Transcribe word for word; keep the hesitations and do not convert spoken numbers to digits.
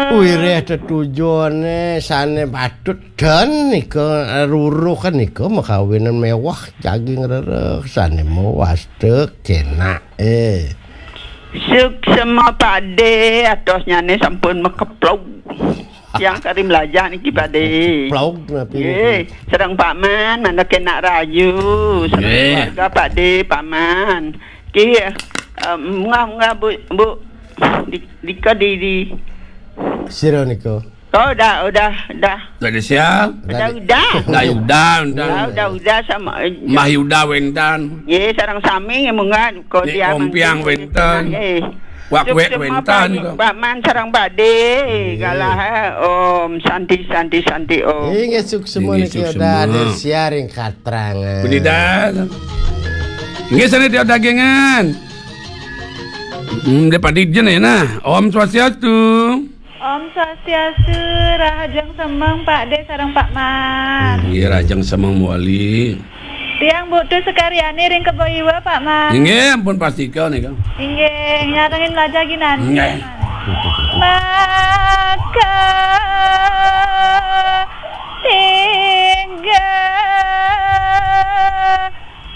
Wireh tetujone sane patut den nika, ruruh nika makawinan mewah, daging rereh sane mewasta kenake. Suksma Pakde, atosnyane sampun makeplog. Tiang kari mlajah niki, Pakde. Keplog napi niki? Nggih, sareng Pak Man, mangda kenak rahayu, sareng Nggih. Keluarga Pakde, Pak Man. Nggih, eh, munggah-munggah, Bu, Bu. Di, dika di, di. Sira nika. Oh, udah, udah, udah. Udah siap? Udah, udah. Udah, udah, udah. Udah, udah, udah sama, eh, Mah Yuda wénten. Nggih, sareng sami nggih, munggah Nek Kodia Om Piang mangkin wénten. Nggih. Wak wek Suksma wénten Pak, kok. Pak Man sareng Pakde. Nggih. Galah, eh, Om Santi, Santi, Santi, Om. Inggih, suksma Inggih, niki suksma. Udah ada siaring katrangan. Pundi dah? Inggih, sana tiap dagingan. Hmm, dia pati jen ya, nah. Om Swastiastu. Om Swastiastu, rahajeng semeng Pakde sareng Pak Man. Inggih, rahajeng semeng mawali. Tiang butuh sekaryane ring Kebo Iwa, Pak Man. Inggih, ampun pastika nika. Inggih, nyarengin mlajah ginanti. Inggih. Maka